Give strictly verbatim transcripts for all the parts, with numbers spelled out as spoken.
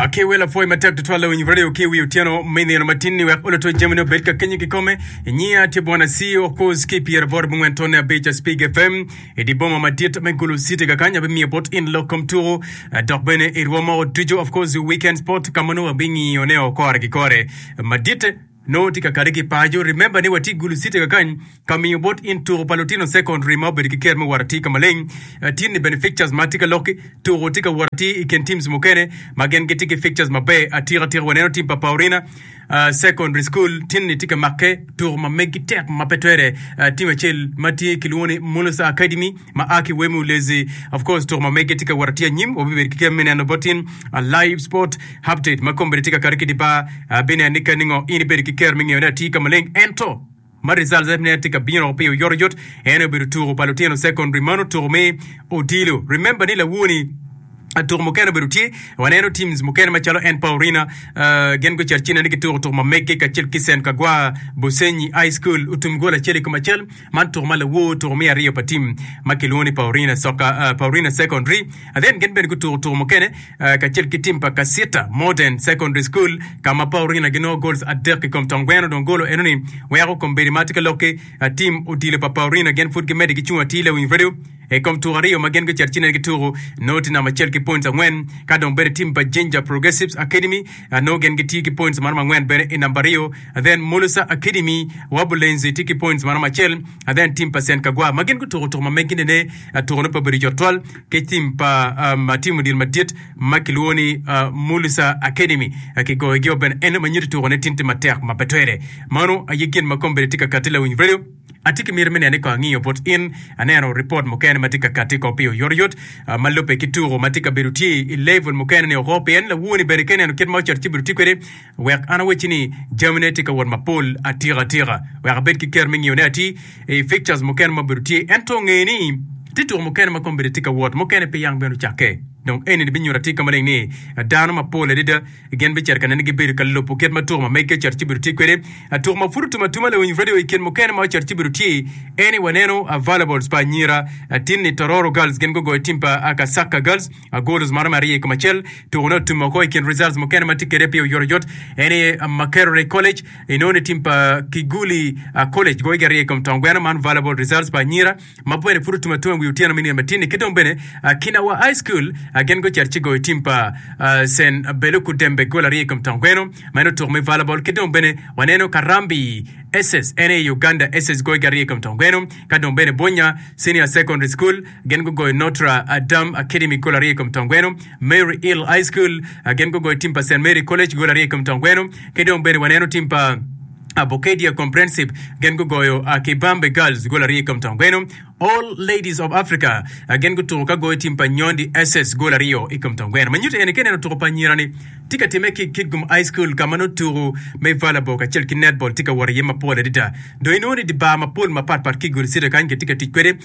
Ki wel apwoyi matek tutwal lawiny radio ki wi otyeno me nino matin-ni wek oloto jamine obed ka kenyo kikome. Nyiya tye bwana C E O of course ki pyera aboro abongwen tonne abic Spig F M i di boma madit me Gulu City kakany abimiyo bot in lok kom tuku dok bene i rwomo ducu, of course, weekend sport ka ma nongo wabingiyone o kore ki kore madit nongo tye ka kade ki paco. Remember ni watye i Gulu City kakany ka miyo bot in tuku pa lutino secondary ma obedo ki ker me wot atir ka maleng. Tin ni bene fixtures ma tye ka lokki tuku tye ka wot atir i kin teams mukene ma gin gitye ki fixtures maber atika tika. Waneno team pa Paurina uh, Secondary School tin ni tye ka makke tuku ma megi tek ma pe twere. uh, team acel ma tye kilwongo ni Mulusa Academy ma a ki Wemu Lezi, of course, tuku ma megi tye ka wot atir anyim. Wabibedo ki ker me neno bot in uh, live sport update ma kombeddi tye ka kati ki di bar uh, bineno ni kani ngo in ibedo ki ker me ngeyone atir ka maleng, ento ma results ne tye ka bino pi oyotoyot en obedo tuku pa lutino secondary mano tuku me odilo. Remember ni lawoni tuku mukene obedo tye, waneno teams mukene macalo en Paurina uh, gin gucito cine ni gituko tuku ma mege kacel ki Sen Kagwa Busenyi High School otum gol acel i kom acel. Man tuku ma lawor tuku me aryo pa team ma kilwongo ni Paurina Soka, uh, Paurina Secondary. And then gin bene gutuko tuku mukene uh, kacel ki team pa Kasita Modern Secondary School ka ma Paurina ginongo goals adek i kom tong gweno. Dong golo eno ni weko kombeddi ma tye ka lokki uh, team odilo pa Paurina gin pud gimedde ki cung atir, lawiny radio, i kom tuko aryo ma gin gucito cine gituko nongo tye namba acel ki points angwen. Ka dong bene team pa Jinja Progressives Academy uh, nongo gin gitye ki points maromo angwen bene i namba aryo. Then Mulusa Academy Wabulenzi tye ki points maromo acel. Then team pa Sen Kagwa ma gin gutuko tuko ma megi nene uh, tuko ne pe obedo yot twal ki team pa um, team odilo madit ma kilwongo ni uh, Mulusa Academy uh, kigoyogi bene en ma nyuto tuko ne tin tye matek ma pe twere. Mano aye gin ma kombeddi tye ka kati, lawiny radio. Atye ki miti me neno ni ko angiyo bot in aneno report mukene ma tye ka kati ko pi oyotoyot uh, ma lubbe ki tuko ma tye ka bedo tye i level mukene ni oko pien lawoni bene ka ineno kit ma ocito ci bedo tye kwede. Wek an awecci ni jamine tye ka wot mapol atika atika wek abed ki ker me ngiyone ati i fixtures mukene ma obedo tye, ento nge ni tye tuko mukene ma kombeddi tye ka wot mukene pe yang bene ocakke. Dong eni binyuto atir ka maleng ni dano mapol adada gin bicito ka nene gibedo ka lubo kit ma tuko ma mege ocito ci bedo tye kwede. Tuko ma pud otum atuma, lawiny radio, i kin mukene ma ocito ci bedo tye eni waneno volleyballs pa anyira. Tin ni Tororo Girls gin gugoyo team pa Kasaka Girls goals maromo aryo i kom acel. Tuko ne otum oko. I kin results mukene ma tye kwede pi oyotoyot eni Makerere College inongo ni team pa Kiguli College goyogi aryo i kom tong gweno. Man volleyball results pa anyira ma bene pud otum atuma wi otyeno me nino matin-ni. Ki dong bene Kinawa High School gin gucito ci goyo team pa St Beluku Dembe gol aryo i kom tong gweno. Ma en otuko me volleyball. Ki dong bene waneno Karambi S S en i Uganda S S goyogi aryo i kom tong gweno. Ka dong bene Bonya Senior Secondary School gin gugoyo Notre Dame Academy gol aryo i kom tong gweno. Mary Hill High School gin gugoyo team pa Saint Mary College gol aryo i kom tong gweno. Ki dong bene waneno team pa Bukedea Comprehensive gin gugoyo Kibambe Girls gol aryo i kom tong gweno. All Ladies of Africa gin gutuko ka goyo team pa Nyondi S S gol aryo i kom tong gweno. Ma nyuto eni ka ineno tuko pa anyira-ni tye ka timme ki Kitgum High School ka ma nongo tuko me volleyball kacel ki netball tye ka wot iye mapol adada. Dong inongo ni di bar mapol mapatpat ki i Gulu City kany gitye ka tic kwede.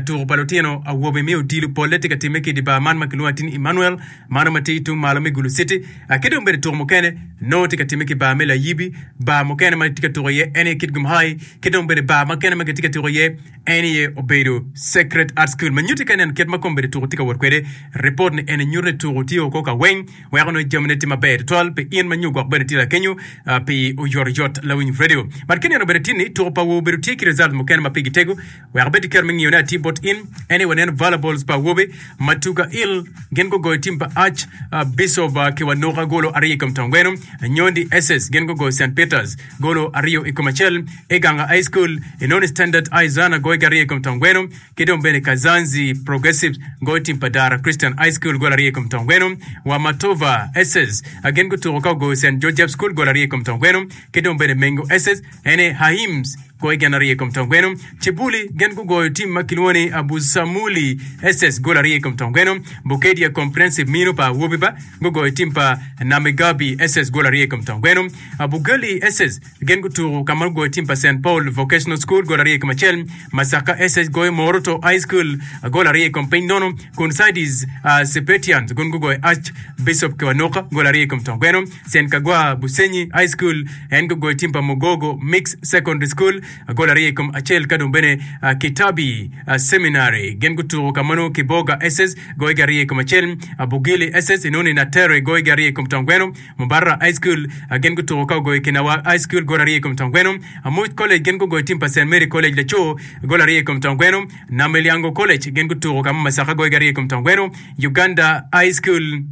Tuko pa lutino awobe me odilo polle tye ka timme ki i di bar man ma kilwongo atir ni Emmanuel mano ma tye tung malo me Gulu City. Ki dong bene tuko mukene nongo tye ka timme ki bar me Layibi, bar mukene ma gitye ka tuko iye en aye Kitgum High, ki dong bene bar mukene ma gitye ka tuko iye en aye obedo Sacred Heart School. Ma nyutti ka ineno kit ma kombeddi tuko tye ka wot kwede, ripot ni eni nyuto ni tuko tye oko ka weng weko nongo jamine tye maber tutwal pi in ma nyo gwok bene tye lakenyo pi oyotoyot, lawiny radio. But ka ineno bene tin ni tuko pa awobe obedo tye ki result mukene ma pigi tego wek abed ki kero me ngiyone atir bot in en aye waneno volleyballs pa awobe ma Tuga Hill gin gugoyo team pa Arch Bishop Kiwanuka golo aryo i kom tong gweno. Nyondi S S gin gugoyo Saint Peters golo aryo i kom acel. Iganga High School inongo ni Standard Izana goyogi aryo i kom tong gweno. Ki dong bene Kazanzi Progressives goyo team pa Dara Christian High School gol aryo i kom tong gweno. Wamatova S S gin gutuko ka ogoyo Saint Joseph School gol aryo i kom tong gweno. Ki dong bene Mengo S S ene Haims goyo gin aryo i kom tong gweno. Cibuli gin gugoyo team ma kilwongo ni Abusamuli S S gol aryo i kom tong gweno. Bukedia Comprehensive mino pa awobi ba gugoyo team pa Namigabi S S gol aryo i kom tong gweno. Bugali S S gin gutuko ka ma gugoyo team pa Saint Paul Vocational School gol aryo i kom acel. Masaka S S goyo Moroto High School gol aryo i kom piny nono kun Sidis uh, Sepetians gun gugoyo Arch Bishop Kiwanuka gol aryo i kom tong gweno. Saint Kagwa Busenyi High School en gugoyo team pa Mugogo Mixed Secondary School. Gol aryo i kom acel ka dong bene Kitabi Seminary gin gutuko ka mano Kiboga S S goyogi aryo i kom acel. Bugili S S inongo ni Natere goyogi aryo i kom Tongweno. Mubarra High School gin gutuko ka ogoyo Kinawa High School gol aryo i kom Tongweno. Amuc College gin gugoyo tim pa Saint Mary College Laco gol aryo i kom Tongweno. Namilyango College gin gutuko ka ma Masaka goyogi aryo i kom Tongweno. Uganda High School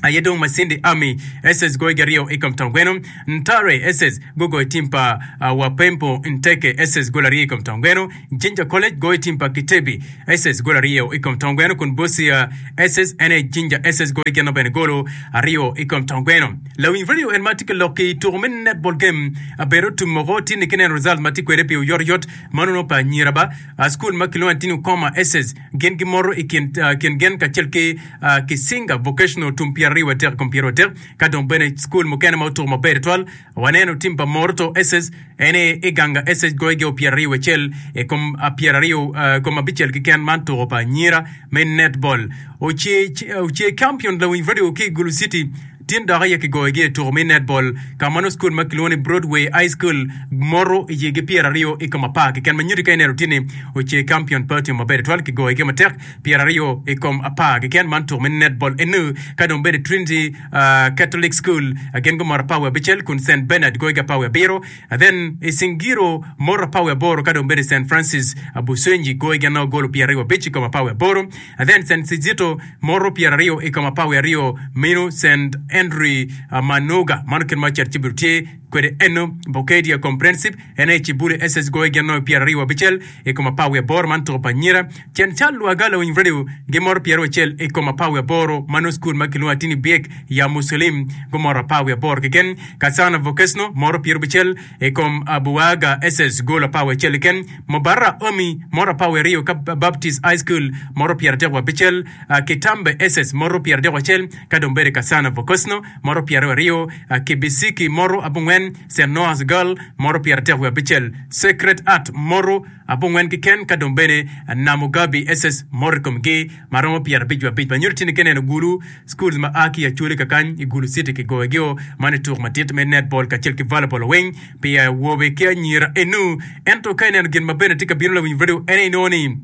aye dong Masindi Army S S goyogi aryo i kom Tongweno. Ntare S S gugoyo tim pa Wapempo Nteke S S gol aryo i kom Tongweno. Jinja College goyo tim pa Kitebi S S gol aryo i kom Tongweno kun Busia S S ene Jinja S S goyo gin bene golo aryo i kom Tongweno. Lawiny radio en ma tye ka lok i tuko me netball game abedo tum moko tye ni kineno result ma tye kwede pi oyotoyot manono pa anyira ba school ma kilwongo ni Ukoma S S gin gimoto i kin kin gen kacel ki Kisinga Vocational tum pyeraryo adek i kom pyeraryo adek ka dong bene school mukene ma otuko maber twal waneno tim pa Moroto S S ene Iganga S S goyogi o pyeraryo acel i kom pyeraryo kom abicel keken man tuko pa anyira me netball Oce Oce Champion lawiny radio ki i Gulu City tin dok aye kigoyogi i tuko me netball ka ma nongo school ma kilwongo ni Broadway High School moto i yigi pyeraryo i kom apar keken ma nyuto ka ineno tye ni Oce Champion pe otimo maber twal kigoyogi matek pyeraryo i kom apar keken man tuko me netball enu ka dong bedo Trinity uh, Catholic School gin gumoto apar wiye abicel kun Saint Bernard goyogi apar wiye abiro then Isingiro moto apar wiye aboro ka dong bedo Saint Francis Busenyi goyogi ano golo pyeraryo abic i kom apar wiye aboro then Saint Kizito moto pyeraryo i kom apar wiye aryo meno Saint Henry Manoga mano kit ma ocito ci obedo tye kwede eno Bokedia Comprehensive ene Cibule S S goyogi ano pyeraryo abicel i kom apar wiye aboro man tuko pa anyira Cen Cal Lwaga Lawiny Radio gimoto pyeraryo acel i kom apar wiye aboro mano school ma kilwongo atini Biek ya Muslim gumoto apar wiye aboro keken Kasana Vocational moto pyeraryo abicel i kom Abuaga S S golo apar wiye acel keken Mubarra Omi moto apar wiye aryo ka Baptist High School moto pyeraryo wiye abicel Kitambe S S moto pyeraryo acel ka dong bedo Kasana Vocational moto pyeraryo aryo Kibisiki moto abongwen Saint Noah's Girl moto pyeraryo wiye abicel Sacred Heart moto abongwen keken ka dong bene Namugabi S S moto i komgi ma romo pyeraryo abic wiye abic ma nyuto tye ni kineno Gulu schools ma a ki Acholi kakany i Gulu City kigoyogi man i tuko madit me netball kacel ki volleyball weng pi awobe ki anyira enu ento ka ineno gin ma bene tye ka bino lawiny radio ene inongo ni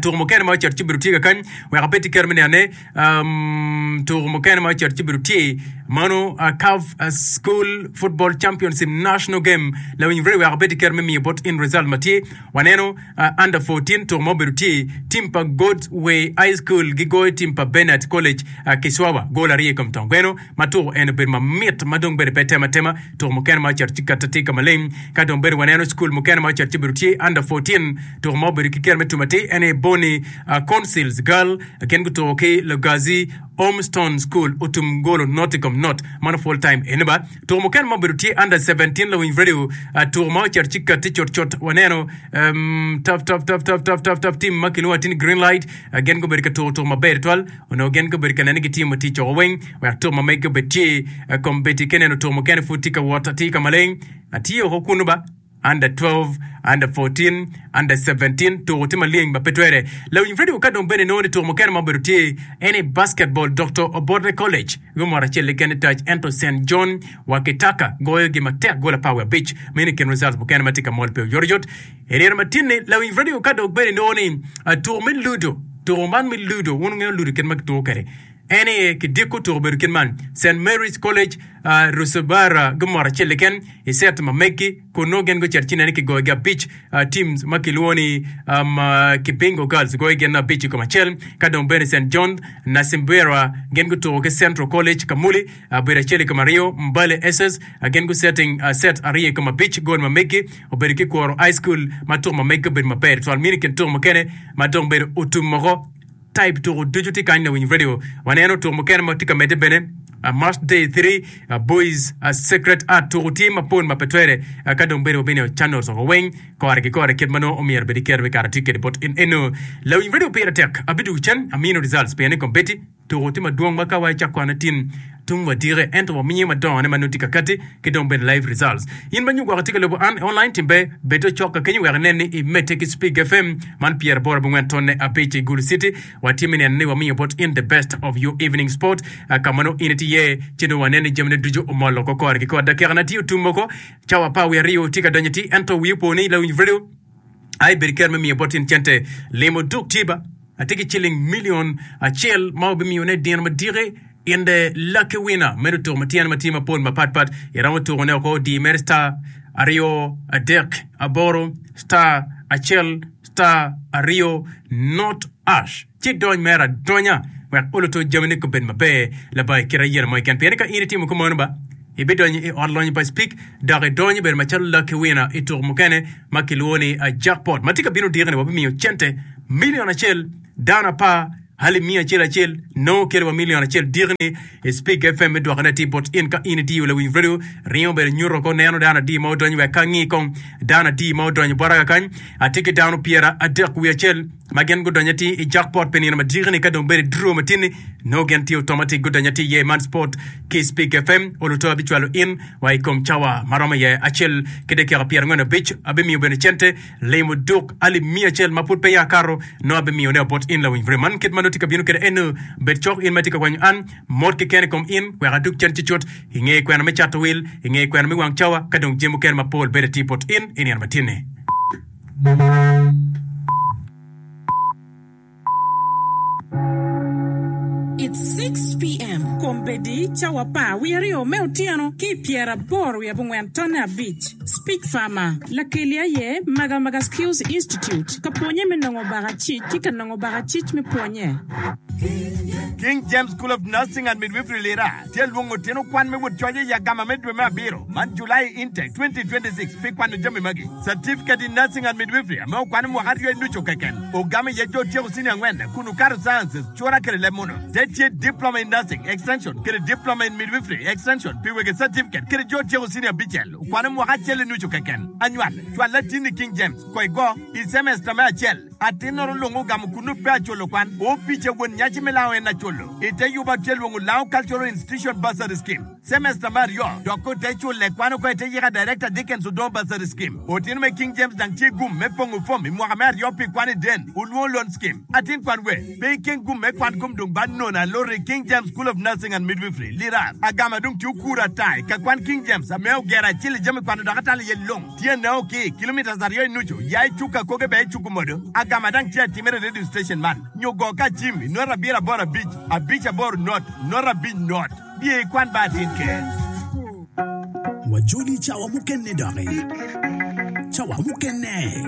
tuko mukene ma ocito ci obedo tye kakany wek abed tye kero me nenone um, tuko mukene ma ocito ci obedo tye mano uh, CAF uh, School Football Championship National Game lawiny radio wek abed tye kero me miyo bot in result ma tye waneno uh, under fourteen tuko ma obedo tye tim pa God's Way High School gigoyo tim pa Bernard College uh, Kiswawa gol aryo i kom Tongweno ma tuko en obedo mamit ma dong bedo pe tema tema tuko mukene ma ocito ci kata tye ka maleng ka dong bedo waneno school mukene ma ocito ci obedo tye under fourteen tuko ma obedo ki kero me tumo atir ene Boni uh, Councils Girl gin gutuko ki Lugazi Ormston School otum golo not i kom not mano full time ene ba tuko mukene ma obedo tye under seventeen lawiny radio uh, tuko ma ocito ci kati cut cut waneno um, tough tough tough tough tough tough tough team ma kilwongo atir ni Green Light uh, gin gubedo ka tuko tuko maber twal onongo gin gubedo ka neno gitimo tic oko weng wek tuko ma megi obed tye uh, kombeddi ka ineno tuko mukene pud tye ka wot atir ka maleng atye oko kunu ba under twelve, under fourteen, under seventeen tuko tye maleng ma pe twere lawiny radio ka dong bene nongo ni tuko mukene ma obedo tye ene basketball Doctor Obote College gumoto acel keken i tac ento Saint John Wakitaka goyogi matek gol apar wiye abic meno i kin results mukene ma tye ka mol pe oyotoyot i nino matin-ni lawiny radio ka dong bene nongo ni tuko me ludo tuko man me ludo wun wungeyo ludo kit ma kituko kwede ene kidiko tuko obedo kit man Saint Mary's College uh, Rusubara gumoto acel keken i set ma megi kun nongo gin gucito ci neno kigoyogi abic uh, teams ma kilwongo ni um, uh, Kibingo Girls goyo gin abic i kom acel ka dong bene Saint John Nasimbera gin gutuko ki Central College Kamuli uh, bedo acel i kom aryo Mbale S S uh, gin gusetting uh, set aryo i kom abic gol ma megi obedo ki Kworo High School ma tuko ma megi obedo maber twal mini kin tuko mukene ma dong bedo otum moko type tuko ducu tye kany lawiny radio waneno tuko mukene ma tye ka medde bene uh, March day three uh, boys uh, Sacred Heart tuko tye mapol ma pe twere uh, ka dong bedo wabino channels oko weng kore ki kore kit ma nongo omyero bed kero me kare tye kede bot in eno lawiny radio pire tek abidugo cen amino results pien ni kombeddi tuko tye madwong ma ka wa icak kwana tin tung wadike ento wamiyo madongone ma nongo tye ka kati ki dong bene live results. In ma nyo gwoko tye ka lubo an i online timbe bed cok ka kenyo wek inen ni imedde ki Spig F M man pyeraboro abongwen tonne abic i Gulu City. Watye me neno ni wamiyo bot in the best of your evening sport ka ma nongo in itye iye ci dong waneno ni jamine ducu omolo oko kore ki kore. Dakika na tye otum oko cawa apar wiye aryo tye ka donyo atir ento wiyi opo ni lawiny radio ai bedo ker me miyo bot in cente limo duk tye ba atye ki ciling milion acel ma wabimiyone dino madiki in the lucky winner meno tuko ma tyene ma tye mapol mapatpat iromo tukone oko di mere star aryo adek aboro star acel star aryo not ash ci dony mere adonya wek oluto jamine gubed maber labongo i kit ayela mo keken pien ka in itimo kumeno ba ibidonyo i ot lonyo pa Speke dok idonyo bedo macalo lucky winner i tuko mukene ma kilwongo ni jackpot ma tye ka bino odiko-ni wabimiyo cente milion acel dano apar alip miya acel acel nongo kelo wa milion acel diki-ni i Speke F M me dwokone atir bot in ka in itiyo lawiny radio ringo obedo nyuto ko neno dano adi ma odonyo wek ka angi kong dano adi ma odonyo bota kakany atye ki dano pyera adek wiye acel ma gin gudonyo atir i jackpot pi nino ma diki-ni ka dong bedo i draw matin-ni nongo gin tye automatic gudonyo atir iye man sport ki Speke F M oluto abicwalo in wa i kom cawa ma romo iye acel ki dakika pyerangwen abic abimiyo bene cente limo duk alip miya acel ma pud peya akato nongo abimiyone bot in lawiny radio man kit ma nongo tye ka bino kwede eno bed cok in ma tye ka kwanyo an mot keken i kom in wek adug cen cucut inge kwena me cato wil inge kwena me wang cawa ka dong jami mukene mapol bedo atir bot in i nino matin-ni. It's six P M Kombeddi cawa apar wiye aryo me otyeno ki i pyeraboro wiye abongwen tonne abic. Speak Farmer, Lakeli aye Magamaga Skills Institute ka pwonye me nongo bakacic ki ka nongo bakacic me pwonye. King James School of Nursing and Midwifery Lira tye lwongo tino kwan me wot coc i agama me dwe me abiro man July Intake twenty twenty-six pi kwano jami magi Certificate in Nursing and Midwifery ame okwano mwaka aryo i nucu keken ogamo iye jo tyeko senior angwen kun okato sciences cura kede leb muno te tye Diploma in Nursing Extension kede Diploma in Midwifery Extension pi wege certificate kede jo tyeko senior abicel okwano mwaka acel i nucu keken anywal cwal latinni King James ko igo i semester me acel atin-noro lungo ogamo kunu pe aculo kwan opice won nyaci me lao en aculo ite yuba tye lwongo Lao Cultural Institution Bursary Scheme semester me aryo dok ote cule kwan oko ite yika Director Dickens Odongo Bursary Scheme otino me King James dang tye gum me pongo fom i mwaka me aryo pi kwan i den ulwongo loan scheme atin kwan we pe ikeng gum me kwan kom dong ba nono alori King James School of Nursing and Midwifery Lira agama dong tye okuro atai ka kwan King James ame ogero acel i jami kwano dok atalo iye long tye nao ki kilometers aryo i nucu ya icuka koge be icuku modo agama dang tye atimere radio station man nyo go ka cim i not abiro aboro abic abic aboro not not abic not biye ikwan ba atin ke. Wajoli cawa mukene doki. Cawa mukene.